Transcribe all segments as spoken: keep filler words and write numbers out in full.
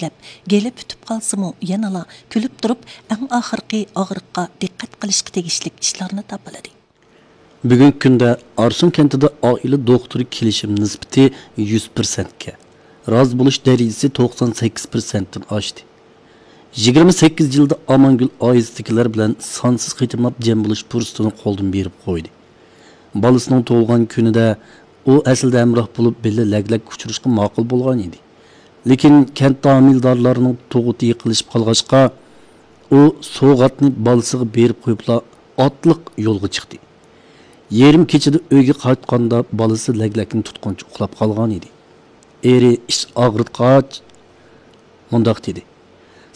دەپ، گېلى پۈتۈپ قالسىمۇ، يەنىلا كۈلۈپ تۇرۇپ، ئەڭ ئاخىرقى ئاغرىققا دىققەت قىلىشقا تېگىشلىك ئىشلارنى تاپىلىدى. بۈگۈنكى كۈندە ئارسۇن كەنتىدە ئائىلە دوختۇرى كېلىشىم نىسبىتى يۈز پىرسەنتكە، رازى بولۇش دەرىجىسى توقسان سەككىز پىرسەنتتىن ئاشتى. يىگىرمە سەككىز يىلدا ئامانگۈل ئائىلىسىدىكىلەر بىلەن سانسىز قېتىملاپ جەم بولۇش پۇرسىتىنى قولدىن بېرىپ قويدى. بالىسىنىڭ تۇغۇلغان كۈنىدە ئۇ ئەسلىدە ھەمراھ بولۇپ، بىللە لەگلەككە ئۇچرىشىشقا ماقۇل بولغان ئىدى. لېكىن كەنتتە ھامىلىدارلارنىڭ تۇغۇتى يېقىنلىشىپ قالغاچقا، ئۇ سوۋغاتنى بالىسىغا بېرىپ قويۇپلا ئاتلىق يولغا چىقتى. يېرىم كېچىدە ئۆيگە قايتقاندا، بالىسى لەگلەكنى تۇتقىنىچە ئۇخلاپ قالغان ئىدى. ئېرى ئىچ ئاغرىتقاچ مۇنداق دېدى: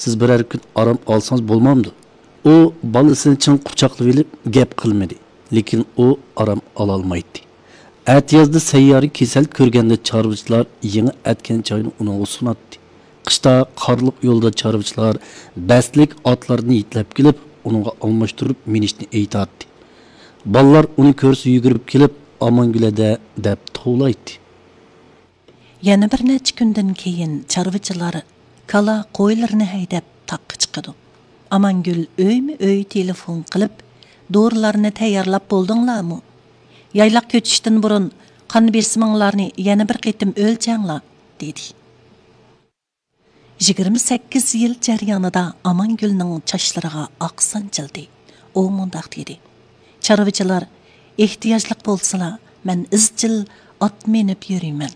«سىز بىرەر كۈن ئارام ئالسىڭىز بولمامدۇ؟» ئۇ بالىسىنى چىڭ قۇچاقلىۋېلىپ گەپ قىلمىدى، لېكىن ئۇ ئارام ئالالمايتتى. ئەتىيازدا سەييارە كېسەل كۆرگەندە، چارۋىچىلار يېڭى ئەتكەن چاينى ئۇنىڭغا سۇناتتى. قىشتا قارلىق يولدا چارۋىچىلار بەستلىك ئاتلارنى يېتىلەپ كېلىپ، ئۇنىڭغا ئالماشتۇرۇپ مىنىشنى ئېيتاتتى. بالىلار ئۇنى كۆرسە يۈگۈرۈپ كېلىپ، «ئامانگۈل ھەدە» دەپ توۋلايتتى. يەنە بىر نەچچە كۈندىن كېيىن چارۋىچىلار كالا، قويلىرىنى ھەيدەپ تاغقا چىقىدۇ. ئامانگۈل ئۆيمۇ ئۆي تېلېفون قىلىپ، «دورىلارنى تەييارلاپ بولدۇڭلارمۇ؟ يايلاق كۆچۈشتىن بۇرۇن قان بېسىمىڭلارنى يەنە بىر قېتىم ئۆلچەڭلار» دېدى. يىگىرمە سەككىز يىل جەريانىدا ئامانگۈلنىڭ چاچلىرىغا ئاق سانچىلدى. ئۇ مۇنداق دېدى: «چارۋىچىلار ئېھتىياجلىق بولسىلا، مەن ئىزچىل ئات مىنىپ يۈرىمەن.